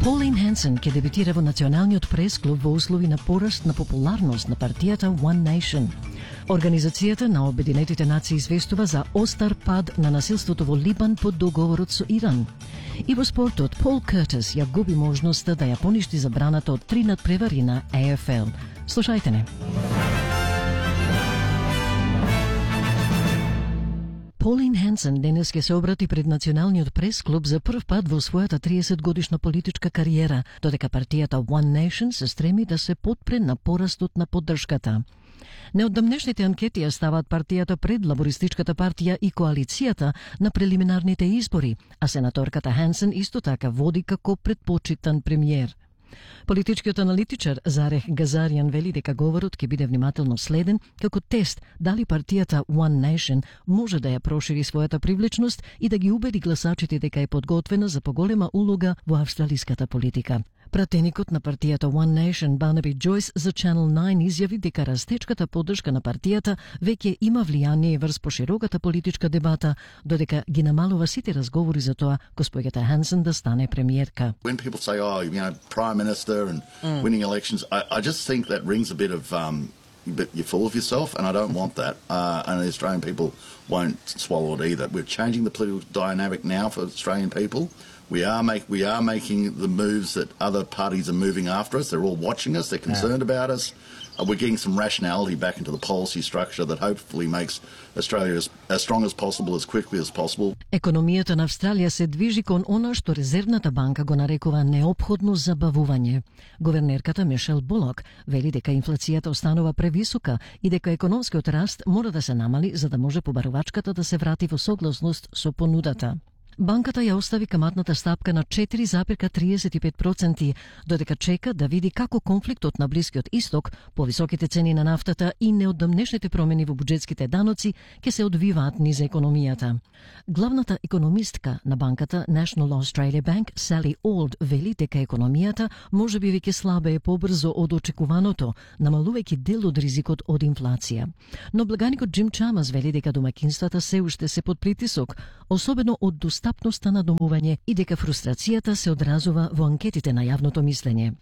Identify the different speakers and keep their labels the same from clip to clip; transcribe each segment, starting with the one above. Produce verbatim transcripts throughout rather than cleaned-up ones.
Speaker 1: Pauline Hanson ќе дебитира во Националниот прес-клуб во услови на пораст на популарност на партијата One Nation. Организацијата на Обединетите нации известува за остар пад на насилството во Либан под договорот со Иран. И во спортот, Пол Кертис ја губи можноста да ја поништи забраната од три надпревари на Е Еф Ел. Слушајте не. Pauline Hanson денес ќе се обрати пред Националниот прес-клуб за прв пат во својата триесет годишна политичка кариера, додека партијата One Nation се стреми да се потпре на порастот на поддршката. Неодамнешните анкети ја ставаат партијата пред Лабористичката партија и коалицијата на прелиминарните избори, а сенаторката Hanson исто така води како предпочитан премиер. Политичкиот аналитичар Зарех Газаријан вели дека говорот ќе биде внимателно следен како тест дали партијата One Nation може да ја прошири својата привлечност и да ги убеди гласачите дека е подготвена за поголема улога во австралиската политика. Пратеникот на партијата One Nation Барнаби Джойс за Channel nine изјави дека растечката поддршка на партијата веќе има влијание врз пошироката политичка дебата, додека ги намалува сите разговори за тоа госпоѓата Hanson да стане премиерка.
Speaker 2: When people say, oh, you know, prime minister and mm. winning elections, I, I just think that rings a bit of, um, but you're full of yourself, and I don't want that. Uh, and the Australian people won't swallow it either. We're changing the political dynamic now for Australian people. We are make we are making the moves that other parties are moving after us. They're all watching us. They're concerned yeah. about us. Uh, we're getting some rationality back into the policy structure that hopefully makes Australia as, as strong as possible, as quickly as possible.
Speaker 1: Економијата на Австралија се движи кон она што Резервната банка го нарекува неопходно забавување. Гувернерката Мишел Булок вели дека инфлацијата останува превисока и дека економскиот раст мора да се намали за да може побарувачката да се врати во согласност со понудата. Банката ја остави каматната стапка на четири zarez триесет и пет проценти, додека чека да види како конфликтот на Блискиот Исток, повисоките цени на нафтата и неодамнешните промени во буџетските даноци ќе се одвиваат низ економијата. Главната економистка на банката National Australia Bank, Sally Auld, вели дека економијата може би веќе слабее побрзо од очекуваното, намалувајќи дел од ризикот од инфлација. Но благаникот Джим Чамас вели дека домаќинствата се уште се под притисок, особено од достапноста на домување и дека фрустрацијата се одразува во анкетите на јавното мислење.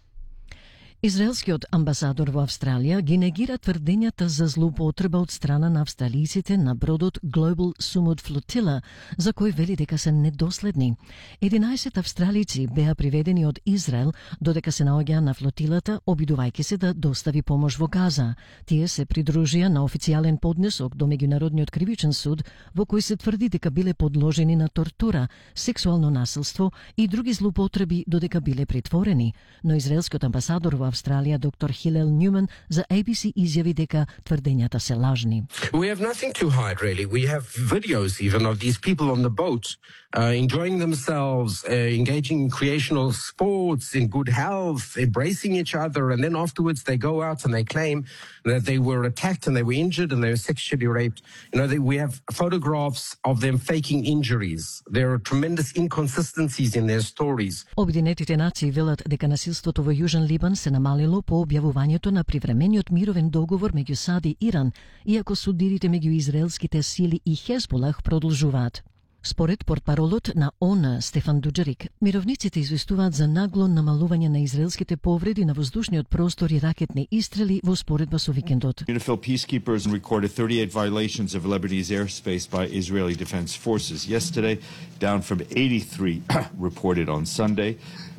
Speaker 1: Израелскиот амбасадор во Австралија ги негира тврдењата за злоупотреба од страна на австралиците на бродот Global Sumud Flotilla, за кој вели дека се недоследни. единаесет австралици беа приведени од Израел, додека се наоѓаа на флотилата, обидувајќи се да достави помош во Газа. Тие се придружија на официјален поднесок до Меѓународниот кривичен суд, во кој се тврди дека биле подложени на тортура, сексуално насилство и други злоупотреби додека биле притворени, но израелскиот амбасадор во Австралија доктор Хилел Нјуман за A B C изјави дека тврдењата се лажни.
Speaker 3: We have nothing to hide, really. We have videos even of these people on the boat uh, enjoying themselves, uh, engaging in recreational sports, in good health, embracing each other, and then afterwards they go out and they claim that they were attacked and they were injured and they were sexually raped. You know, they, we have photographs of them faking injuries. There are tremendous inconsistencies in their stories.
Speaker 1: Обединетите нации велат дека насилството во Јужен Либан се намалило по објавувањето на привремениот мировен договор меѓу САД и Иран, иако судирите меѓу израелските сили и Хезболах продолжуваат. Според портпаролот на О Н Стефан Дуџерик, мировниците известуваат за нагло намалување на израелските повреди на воздушниот простор и ракетни истрели во споредба со викендот.
Speaker 4: UNIFIL peacekeepers recorded thirty-eight violations of Lebanese airspace by Israeli defense forces yesterday, down from eighty-three reported on Sunday.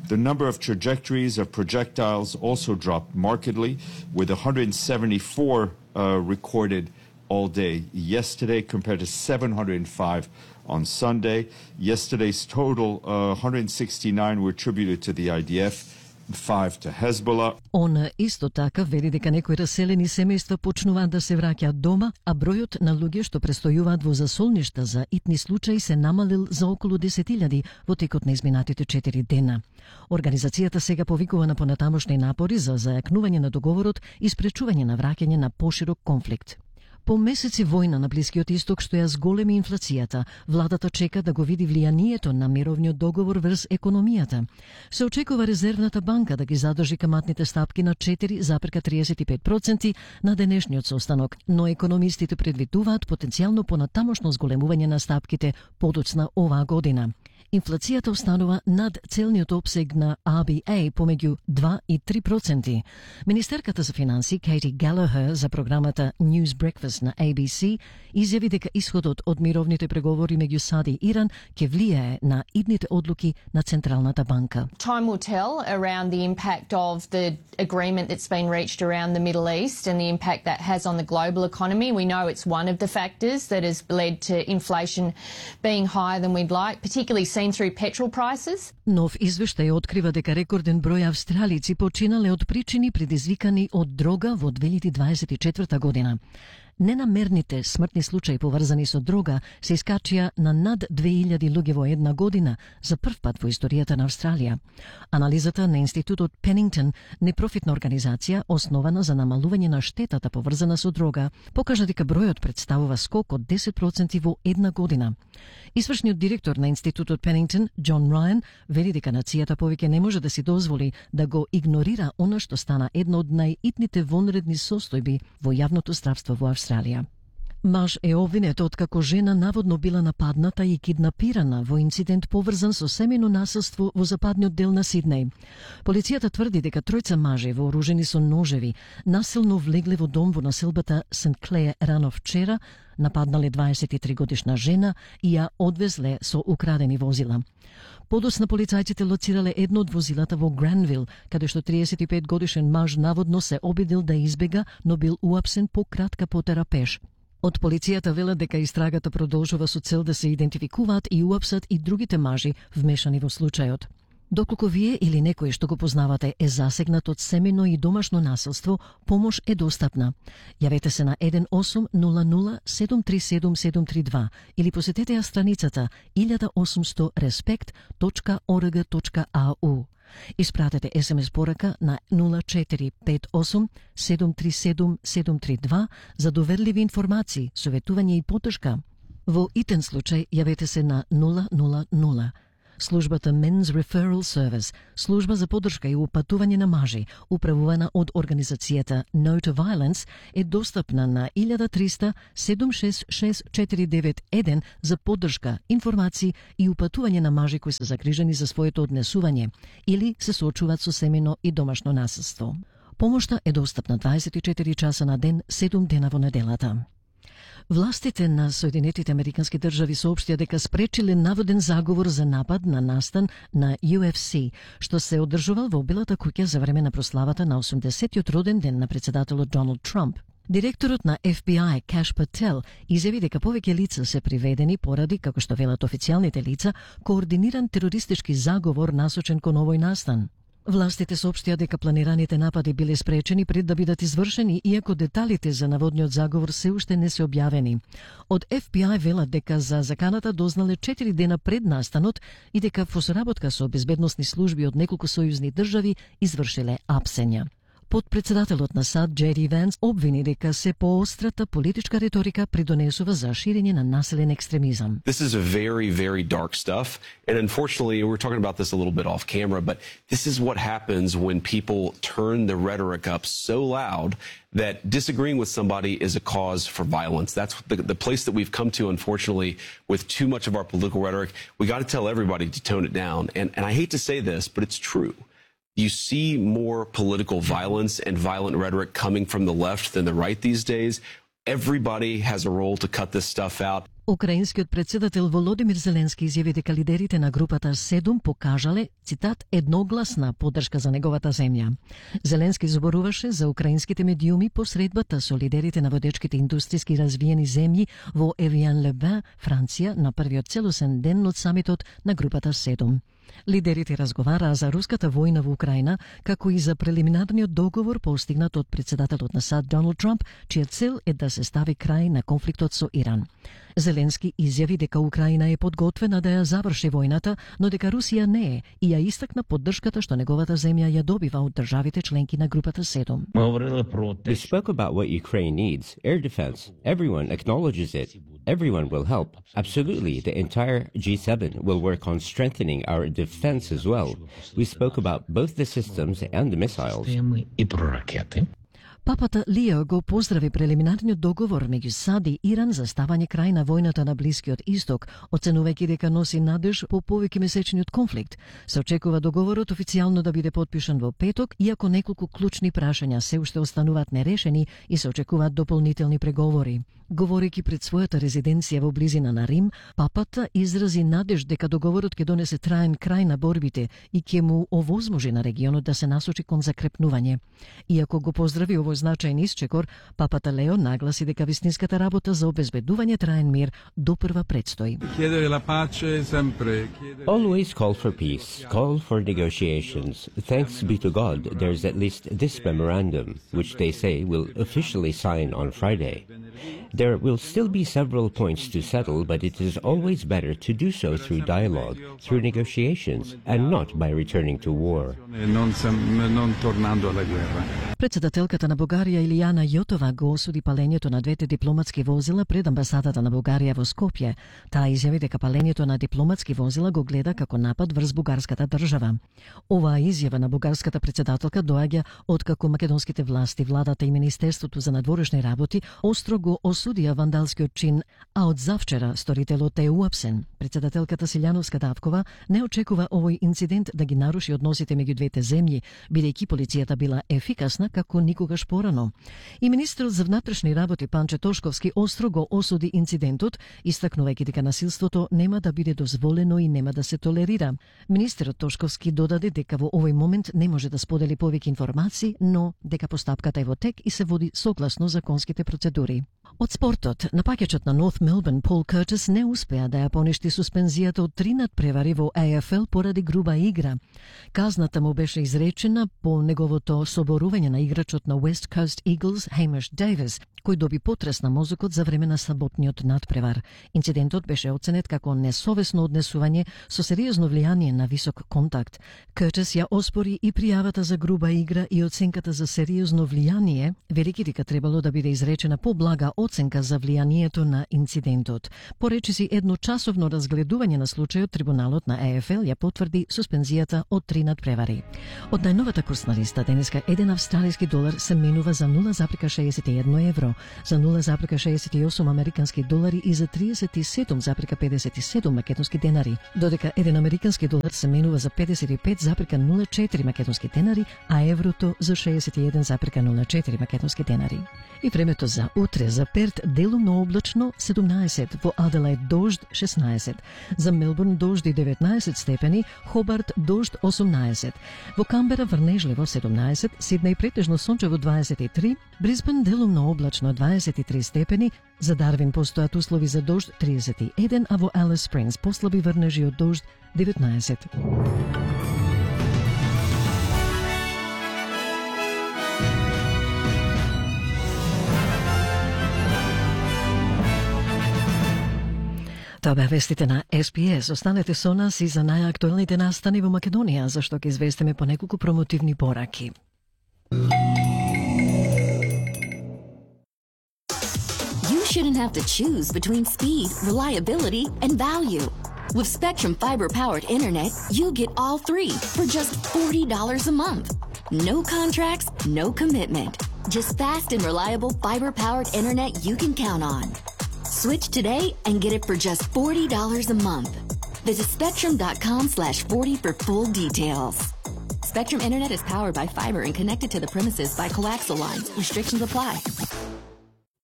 Speaker 4: The number of trajectories of projectiles also dropped markedly, with one hundred seventy-four uh, recorded all day yesterday compared to seven hundred five on Sunday. Yesterday's total, uh, one hundred sixty-nine were attributed to the I D F, five to Hezbollah.
Speaker 1: Он исто така вели дека некои раселени семејства почнуваат да се враќаат дома, а бројот на луѓе што престојуваат во засолништа за итни случаи се намалил за околу десет илјади во текот на изминатите четири дена. Организацијата сега повикува на понатамошни напори за зајакнување на договорот и спречување на враќање на поширок конфликт. По месеци војна на Блискиот Исток што ја зголеми инфлацијата, владата чека да го види влијанието на мировниот договор врз економијата. Се очекува Резервната банка да ги задржи каматните стапки на четири zarez триесет и пет проценти на денешниот состанок, но економистите предвидуваат потенцијално понатамошно зголемување на стапките подоцна оваа година. Инфлацијата останува над целниот опсег на ар би ей помеѓу два и три проценти. Министерката за финанси Кейти Галахер за програмата News Breakfast на ей би си изјави дека исходот од мировните преговори меѓу САД и Иран ќе влијае на идните одлуки на Централната банка.
Speaker 5: Time will tell around the impact of the agreement that's been reached around the Middle East and the impact that has on the global economy. We know it's one of the factors that has led to inflation being higher than we'd like, particularly seen through petrol prices.
Speaker 1: Нов извештај открива дека рекорден број австралици починале од причини предизвикани од дрога во две илјади дваесет и четврта година. Ненамерните смртни случаи поврзани со дрога се искачија на над две илјади луѓе во една година за прв пат во историјата на Австралија. Анализата на Институтот Пенингтон, непрофитна организација основана за намалување на штетата поврзана со дрога, покажа дека бројот представува скок од десет проценти во една година. Извршниот директор на Институтот Пенингтон, Џон Рајан, вели дека нацијата повеќе не може да си дозволи да го игнорира она што стана една од најитните вонредни состојби во јавното здравство во Австралија. Маж е обвинет откако жена наводно била нападната и киднапирана во инцидент поврзан со семејно насилство во западниот дел на Сиднеј. Полицијата тврди дека тројца мажи вооружени со ножеви насилно влегле во дом во населбата Сент Клеја рано вчера, нападнале дваесет и три годишна жена и ја одвезле со украдени возила. Подоцна полицајците лоцирале едно од возилата во Гранвил, каде што триесет и пет годишен маж наводно се обидел да избега, но бил уапсен по кратка потера пеш. Од полицијата велат дека истрагата продолжува со цел да се идентификуваат и уапсат и другите мажи вмешани во случајот. Доколку вие или некој што го познавате е засегнат од семејно и домашно насилство, помош е достапна. Јавете се на еден осум нула нула седум три седум седум три два или посетете ја страницата илјада и осумсто респект точка орг точка ау. Испратете ес ем ес порака на нула четири пет осум седум три седум седум три два за доверливи информации, советување и поддршка. Во итен случај јавете се на нула нула нула. Службата Men's Referral Service, служба за поддршка и упатување на мажи, управувана од организацијата No to Violence, е достапна на илјада триста седум шест шест четири девет еден за поддршка, информации и упатување на мажи кои се загрижени за своето однесување или се соочуваат со семејно и домашно насилство. Помошта е достапна дваесет и четири часа на ден, седум дена во неделата. Властите на Соединетите Американски држави соопштија дека спречиле наводен заговор за напад на настан на ю еф си, што се одржувал во Белата куќа за време на прославата на осумдесетиот роден ден на председателот Доналд Трамп. Директорот на еф би ај Каш Пател изјави дека повеќе лица се приведени поради, како што велат официјалните лица, координиран терористички заговор насочен кон овој настан. Властите соопштија дека планираните напади биле спречени пред да бидат извршени, иако деталите за наводниот заговор се уште не се објавени. Од еф би ај велат дека за заканата дознале четири дена пред настанот и дека во соработка со безбедносни служби од неколку сојузни држави извршиле апсења. Подпредседателот на САД Джей Ванс обвини дека се поострата политичка риторика придонесува за ширење на насилен екстремизам.
Speaker 6: This is a very, very dark stuff. And unfortunately, we're talking about this a little bit off camera, but this is what happens when people turn the rhetoric up so loud that disagreeing with somebody is a cause for violence. That's the, the place that we've come to, unfortunately, with too much of our political rhetoric. We got to tell everybody to tone it down. And, and I hate to say this, but it's true. You see more political violence and violent rhetoric coming from the left than the right these days. Everybody has a role to cut this stuff out.
Speaker 1: Украинскиот председател Володимир Зеленски изјави дека лидерите на групата седум покажале, цитат, едногласна поддршка за неговата земја. Зеленски зборуваше за украинските медиуми посредбата со лидерите на водечките индустријски развиени земји во Евијан-ле-Бен, Франција, на првиот целосен ден од самитот на групата седум. Лидерите разговараа за руската војна во Украина, како и за прелиминарниот договор постигнат од председателот на САД Доналд Трамп, чија цел е да се стави крај на конфликтот со Иран. Зеленски изјави дека Украина е подготвена да ја заврши војната, но дека Русија не е, и ја истакна поддршката што неговата земја ја добива од државите членки на групата седум.
Speaker 7: We spoke about what Ukraine needs, air defense. Everyone acknowledges it. Everyone will help. Absolutely, the entire G seven will work on strengthening our defense as well. We spoke about both the systems and the missiles.
Speaker 1: Папата Лио го поздрави прелиминарниот договор меѓу САД и Иран за ставање крај на војната на Блискиот Исток, оценувајќи дека носи надеж по повеќе месечниот конфликт. Се очекува договорот официјално да биде потпишан во петок, иако неколку клучни прашања се уште остануваат нерешени и се очекуваат дополнителни преговори. Говорејќи пред својата резиденција во близина на Рим, папата изрази надеж дека договорот ќе донесе траен крај на борбите и ќе му овозможи на регионот да се насочи кон закрепнување. Иако го поздрави овој значајен исчекор, папата Лео нагласи дека вистинската работа за обезбедување траен мир допрва предстои.
Speaker 7: Always call for peace, call for negotiations. Thanks be to God, there's at least this memorandum, which they say will officially sign on Friday. There will still be several points to settle, but it is always better to do so through dialogue, through negotiations, and not by returning to war.
Speaker 1: Председателката на Бугарија Илијана Јотова го осуди палењето на двете дипломатски возила пред амбасадата на Бугарија во Скопје. Таа изјави дека палењето на дипломатски возила го гледа како напад врз бугарската држава. Оваа изјава на бугарската председателка доаѓа откако македонските власти, владата и Министерството за надворешни работи остро го осудија вандалскиот чин, а од завчера сторителот е уапсен. Председателката Силјановска Давкова не очекува овој инцидент да ги наруши односите меѓу двете земји, бидејќи полицијата била ефикасна како никогаш порано. И министерот за внатрешни работи Панче Тошковски остро го осуди инцидентот, истакнувајќи дека насилството нема да биде дозволено и нема да се толерира. Министерот Тошковски додаде дека во овој момент не може да сподели повеќе информации, но дека постапката е во тек и се води согласно законските процедури. Од спортот, напаѓачот на North Melbourne Paul Curtis не успеа да ја поништи суспензијата од три надпревари во А Ф Л поради груба игра. Казната му беше изречена по неговото соборување на играчот на West Coast Eagles Hamish Davis, кој доби потрес на мозокот за време на саботниот надпревар. Инцидентот беше оценет како несовесно однесување со сериозно влијание на висок контакт. Curtis ја оспори и пријавата за груба игра и оценката за сериозно влијание, велики дека требало да биде изречена поблага оценка за влијанието на инцидентот. По речиси едночасовно разгледување на случајот, трибуналот на А Ф Л ја потврди суспензијата од три надпревари. Од најновата курсна листа денеска еден австралиски долар се менува за нула запирка шеесет и едно евро, за нула запирка шеесет и осум американски долари и за триесет и седум запирка педесет и седум македонски денари, додека еден американски долар се менува за педесет и пет запирка нула четири македонски денари, а еврото за шеесет и еден запирка нула четири македонски денари. И времето за утре: за Перт делумно облачно седумнаесет, во Аделаид дожд шеснаесет, за Мелбурн дожди деветнаесет степени, Хобарт дожд осумнаесет, во Камбера врнежливо седумнаесет, Сиднеј претежно сончево дваесет и три, Брисбен делумно облачно дваесет и три степени, за Дарвин постојат услови за дожд триесет и еден, а во Алис Спрингс послаби врнежи од дожд деветнаесет. Тоа беа вестите на С Б С. Останете со нас и за најактуелните настани во Македонија, зашто ќе известиме по неколку промотивни пораки.
Speaker 8: You shouldn't have to choose between speed, reliability, and value. With Spectrum fiber-powered internet, you get all three for just forty dollars a month. No contracts, no commitment. Just fast and reliable fiber-powered internet you can count on. Switch today and get it for just forty dollars a month. Visit spectrum.com slash 40 for full details. Spectrum Internet is powered by fiber and connected to the premises by coaxial lines. Restrictions apply.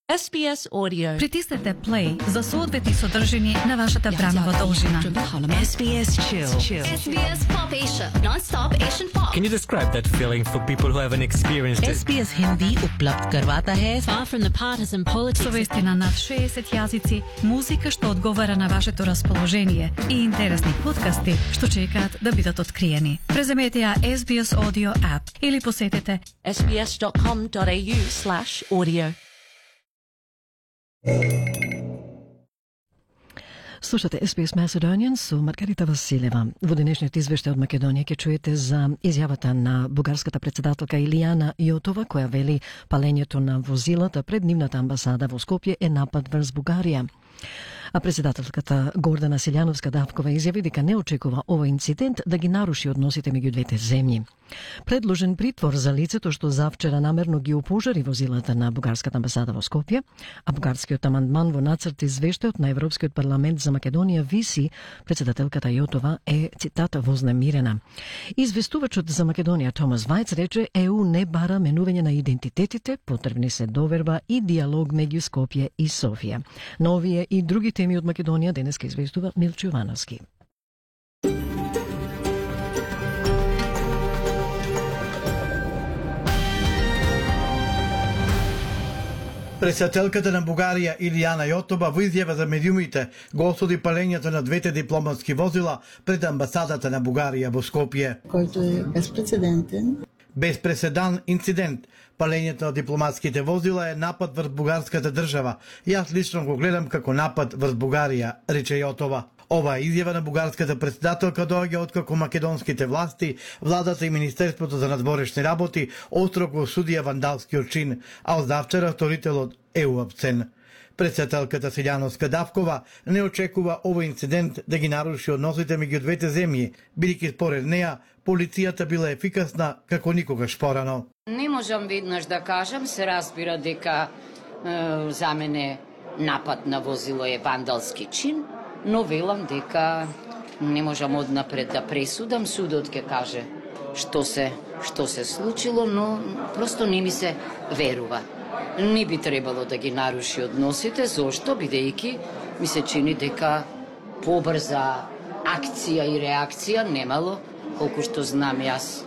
Speaker 9: С Б С Audio.
Speaker 10: Притиснете play за соодветни содржини на вашата времева должина.
Speaker 9: S B S Chill. Chill.
Speaker 11: S B S Pop Asia. Non-stop Asian pop.
Speaker 12: Can you describe that feeling for people who haven't experienced it?
Speaker 9: S B S Hindi उपलब्ध करवाता है. Far from the partisan politics.
Speaker 10: Со вести на над шеесет јазици, музика што одговара на вашето расположение и интересни подкасти што чекаат да бидат откриени. Преземете ја S B S Audio app или посетете
Speaker 9: S B S dot com dot A U slash audio.
Speaker 1: Слушате С Б С Macedonian со Маргарита Василева. Во денешниот извештај од Македонија ќе чуете за изјавата на бугарската председателка Илијана Јотова, која вели палењето на возилата пред нивната амбасада во Скопје е напад врз Бугарија. А председателката Гордана Силјановска-Давкова изјави дека не очекува овој инцидент да ги наруши односите меѓу двете земји. Предложен притвор за лицето што завчера намерно ги опожари возилата на бугарската амбасада во Скопје, а бугарскиот амандман во нацрт извештајот на Европскиот парламент за Македонија виси, председателката Јотова е, цитата, вознемирена. Известувачот за Македонија Томас Вајц рече Е У не бара менување на идентитетите, потребни се доверба и диалог меѓу Скопје и Софија. Но овие и други теми од Македонија денеска известува Милчо Јовановски.
Speaker 13: Председателката на Бугарија Илијана Јотова во изјава за медиумите го осуди палењето на двете дипломатски возила пред амбасадата на Бугарија во Скопје.
Speaker 14: Којто е безпрецедентен.
Speaker 13: Безпреседан инцидент. Палењето на дипломатските возила е напад врз бугарската држава. Јас лично го гледам како напад врз Бугарија, рече Јотова. Ова изјава на бугарската председателка доаѓа откако македонските власти, владата и Министерството за надворешни работи остро го осудија вандалскиот чин, а од завчера сторителот е уапсен. Председателката Силјановска-Давкова не очекува овој инцидент да ги наруши односите меѓу двете земји, бидејќи според неа полицијата била ефикасна како никогаш порано.
Speaker 15: Не можам веднаш да кажам, се разбира дека е, за мене напад на возило е вандалски чин, но велам дека не можам однапред да пресудам, судот ќе каже што се што се случило, но просто не ми се верува. Не би требало да ги наруши односите, зошто бидејќи ми се чини дека побрза акција и реакција немало, колку што знам јас,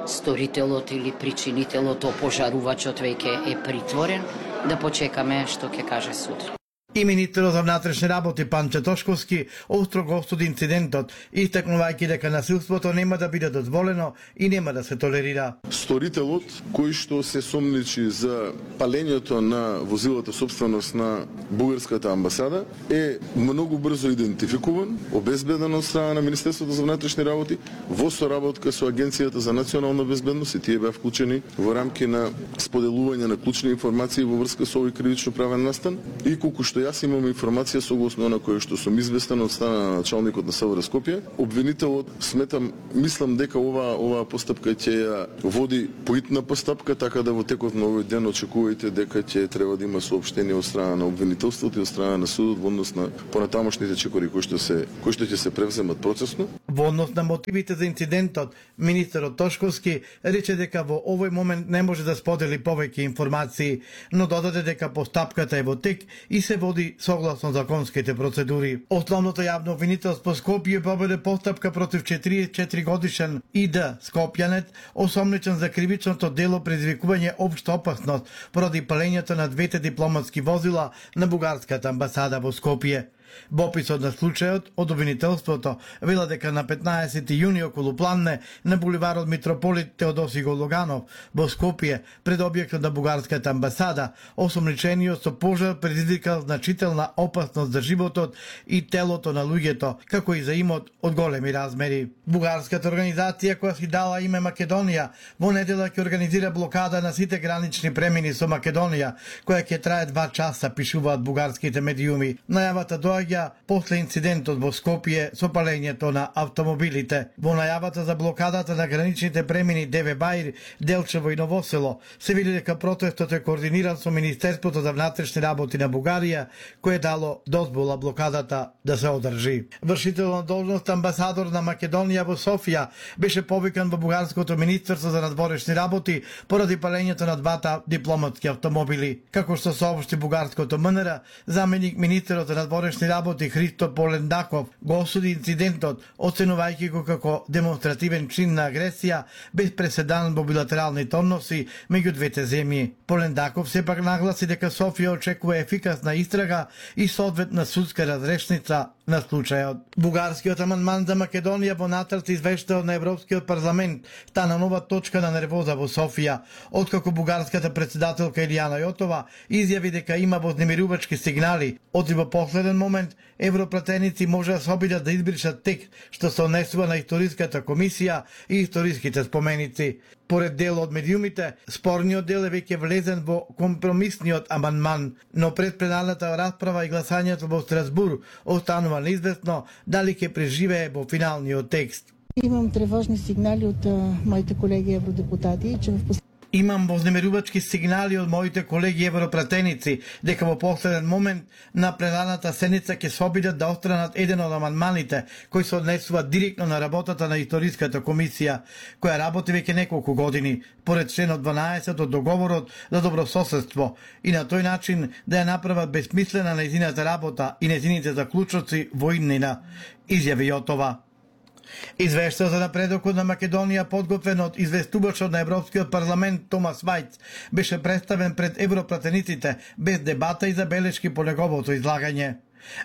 Speaker 15: сторителот или причинителот, опожарувачот веќе е притворен, да почекаме што ќе каже суд.
Speaker 13: И министерот за внатрешни работи Панче Тошковски остро го осуди инцидентот, истакнувајќи дека насилството нема да биде дозволено и нема да се толерира.
Speaker 16: Сторителот кој што се сомничи за палењето на возилата собственост на бугарската амбасада е многу брзо идентификуван, обезбеден од страна на Министерството за внатрешни работи во соработка со Агенцијата за национална безбедност, и тие беа вклучени во рамки на споделување на клучни информации во врска со овој кривично правен настан. И колку што јас имам информација согласно на која што сум известен од страна на началникот на СВР Скопје, обвинителот сметам, мислам дека ова оваа постапка ќе ја води поитна постапка, така да во текот на овој ден очекувајте дека ќе треба да има соопштение од страна на обвинителството и од страна на судот во однос на понатамошните чекори кои што се кои што ќе се превземат процесно.
Speaker 13: Во однос на мотивите за инцидентот, министерот Тошковски рече дека во овој момент не може да сподели повеќе информации, но додаде дека постапката е во тек и се води согласно законските процедури. Основното јавно обвинителство Скопје победе постапка против четириесет и четири годишен И Д скопјанет, осомничен за кривичното дело предизвикување општа опасност поради палењето на двете дипломатски возила на бугарската амбасада во Скопје. Во описот на случајот од обвинителството вела дека на петнаесети јуни околу Планне на буливарот Митрополит Теодоси Гологанов во Скопје пред објектот на бугарската амбасада осомничениот со пожар предизвикал значителна опасност за животот и телото на луѓето, како и за имот од големи размери. Бугарската организација која си дала име Македонија во недела ќе организира блокада на сите гранични премини со Македонија, која ќе трае два часа, пишуваат бугарските медиуми. Најавата доаѓа после инцидентот во Скопје со палењето на автомобилите. Во најавата за блокадата на граничните премини Деве Баир, Делчево и Новосело се види дека протестот е координиран со Министерството за внатрешни работи на Бугарија, кое дало дозвола блокадата да се одржи. Вршител на должност амбасадор на Македонија во Софија беше повикан во бугарското Министерство за надворешни работи поради палењето на двата дипломатски автомобили. Како што соопшти бугарското М Н Р, заменик министерот за надворешни работи Христо Полендаков го осуди инцидентот, оценувајќи го како демонстративен чин на агресија без преседан во билатералните односи меѓу двете земји. Полендаков сепак нагласи дека Софија очекува ефикасна истрага и соодветна судска разрешница на случајот. Бугарскиот амандман за Македонија во нацрт извештај на Европскиот парламент стана нова точка на нервоза во Софија, откако бугарската председателка Илијана Јотова изјави дека има вознемирувачки сигнали, оти во последен момент европратеници може да се обидат да избришат текст што се однесува на историската комисија и историските споменици. Според дел од медиумите, спорниот дел е веќе влезен во компромисниот амандман, но пред пленарната расправа и гласањето во Страсбур останува неизвестно дали ќе преживее во финалниот текст.
Speaker 14: Имам тревожни сигнали од моите колеги евродепутати, че в
Speaker 13: Имам вознемерувачки сигнали од моите колеги европратеници дека во последен момент на пленарната седница ќе се обидат да отстранат еден од амандманите кои се однесуваат директно на работата на историската комисија, која работи веќе неколку години, поред членот дванаесет од договорот за добрососедство, и на тој начин да ја направат безсмислена нејзината работа и нејзините заклучоци во иднина, изјави Јотова. Извештај за напредокот на Македонија, подготвен од известувачот на Европскиот парламент Томас Вајц, беше представен пред европратениците без дебата и забелешки по неговото излагање.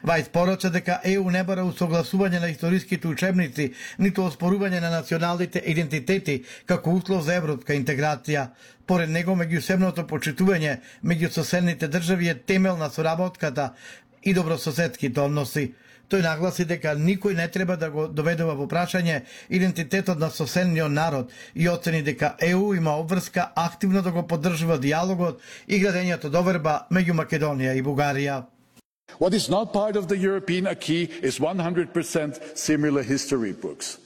Speaker 13: Вајц порача дека Е У не бара усогласување на историските учебници, ниту оспорување на националните идентитети како услов за европска интеграција. Поред него, меѓусебното почитување меѓу соседните држави е темел на соработката и добрососедските односи. Тој нагласи дека никој не треба да го доведува во прашање идентитетот на соседниот народ и оцени дека Е У има обврска активно да го поддржува диалогот и градењето доверба меѓу Македонија и Бугарија.
Speaker 17: What is not part of the European acquis is one hundred percent similar history books.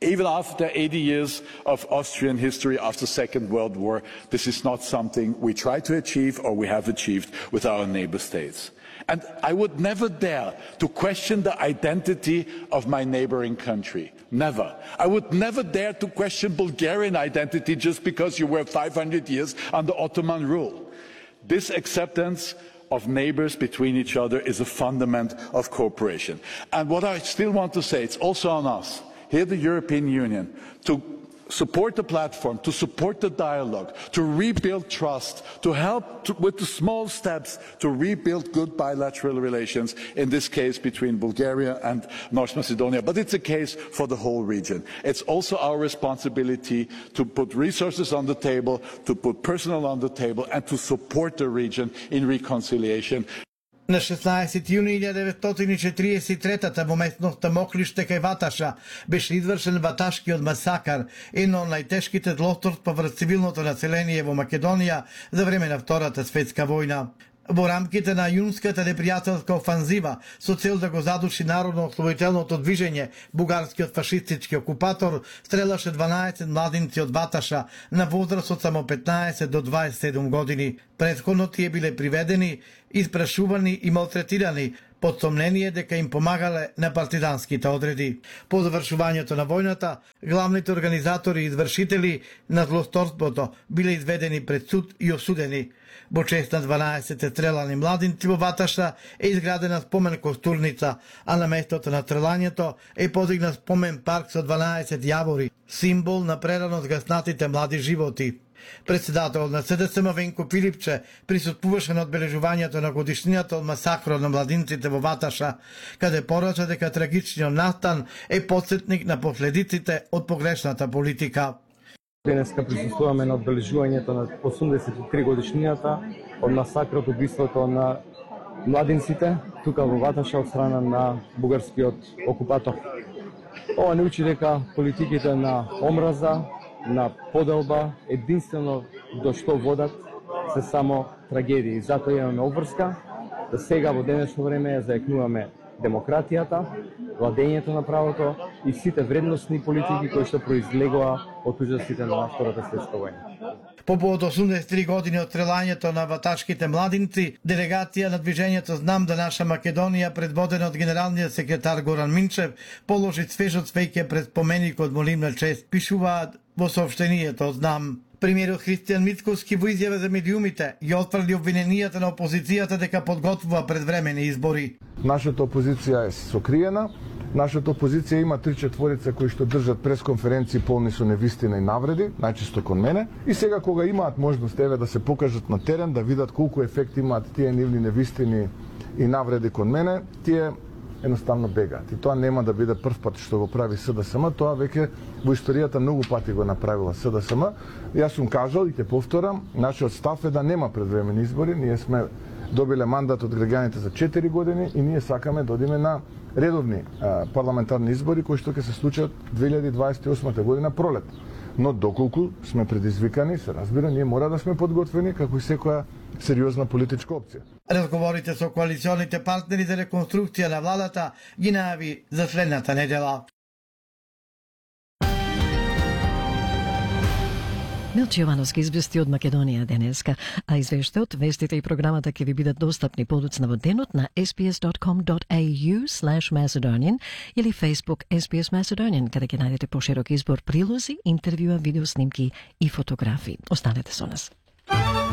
Speaker 17: Even after eighty years of Austrian history after the Second World War, this is not something we try to achieve or we have achieved with our neighbor states. And I would never dare to question the identity of my neighboring country. Never. I would never dare to question Bulgarian identity just because you were five hundred years under Ottoman rule. This acceptance of neighbors between each other is a fundament of cooperation. And what I still want to say, it's also on us, here the European Union, to support the platform, to support the dialogue, to rebuild trust, to help to, with the small steps to rebuild good bilateral relations, in this case between Bulgaria and North Macedonia, but it's a case for the whole region. It's also our responsibility to put resources on the table, to put personnel on the table, and to support the region in reconciliation.
Speaker 13: На шеснаесети јуни илјада деветстотини и четиридесет и третата во местноста Моклиште кај Ваташа беше извршен ваташкиот масакар, едно од најтешките злосторства врз цивилното население во Македонија за време на Втората светска војна. Во рамките на јунската непријателска офанзива со цел да го задуши народно-ослободителното движење, бугарскиот фашистички окупатор стрелаше дванаесет младинци од Ваташа на возраст од само петнаесет до дваесет и седум години. Претходно тие биле приведени, испрашувани и малтретирани под сомнение дека им помагале на партизанските одреди. По завршувањето на војната, главните организатори и извршители на злосторството биле изведени пред суд и осудени. Во чест на дванаесет стрелани младинци во Ваташа е изградена спомен костурница, а на местото на стрелањето е подигнат спомен парк со дванаесет јавори, символ на прерано згаснатите млади животи. Председателот на С Д С М Венко Филипче присуствуваше на одбележувањето на годишнината од масакрот на младинците во Ваташа, каде порача дека трагичниот настан е потсетник на последиците од погрешната политика.
Speaker 18: Денеска присуствуваме на одбележувањето на осумдесет и три годишнината од масакрот, убиството на младинците тука во Ваташа од страна на бугарскиот окупатор. Ова не учи дека политиките на омраза, на поделба, единствено до што водат се само трагедии. Затоа имаме обврска да сега во денешно време ја заекнуваме демократијата, владењето на правото и сите вредностни политики кои што произлегоа од ужасите на Втората светска војна.
Speaker 13: По повод осумдесет и три години од стрелањето на ваташките младинци, делегација на движењето Знам да наша Македонија, предводена од генералниот секретар Горан Минчев, положи свежо цвеќе пред споменикот во нивна чест, пишуваат во соопштението Знам. Премиерот Христијан Мицкоски во изјава за медиумите ги отфрли обвиненијата на опозицијата дека подготвува предвремени избори.
Speaker 19: Нашата опозиција е сокриена. Нашата опозиција има три четворица кои што држат пресконференции полни со невистина и навреди, најчесто кон мене. И сега кога имаат можност еве да се покажат на терен, да видат колку ефект имаат тие нивни невистини и навреди кон мене, тие едноставно бегаат. И тоа нема да биде прв пат што го прави С Д С М, тоа веќе во историјата многу пати го направила С Д С М. Јас сум кажал и ќе повторам, нашиот став е да нема предвремени избори, ние сме добиле мандат од граѓаните за четири години и ние сакаме да одиме на редовни а, парламентарни избори кои што ќе се случат две илјади дваесет и осма година пролет. Но доколку сме предизвикани, се разбира, ние мора да сме подготвени како и секоја сериозна политичка опција.
Speaker 13: Разговорите со коалиционите партнери за реконструкција на владата ги најави за следната недела.
Speaker 1: Милче Јовановски извести од Македонија денеска, а извештајот, вестите и програмата ќе ви бидат достапни подоцна во денот на ес би ес dot com dot a u slash Macedonian или Facebook ес би ес Macedonian, каде ќе најдете поширок избор прилози, интервјуа, видеоснимки и фотографии. Останете со нас.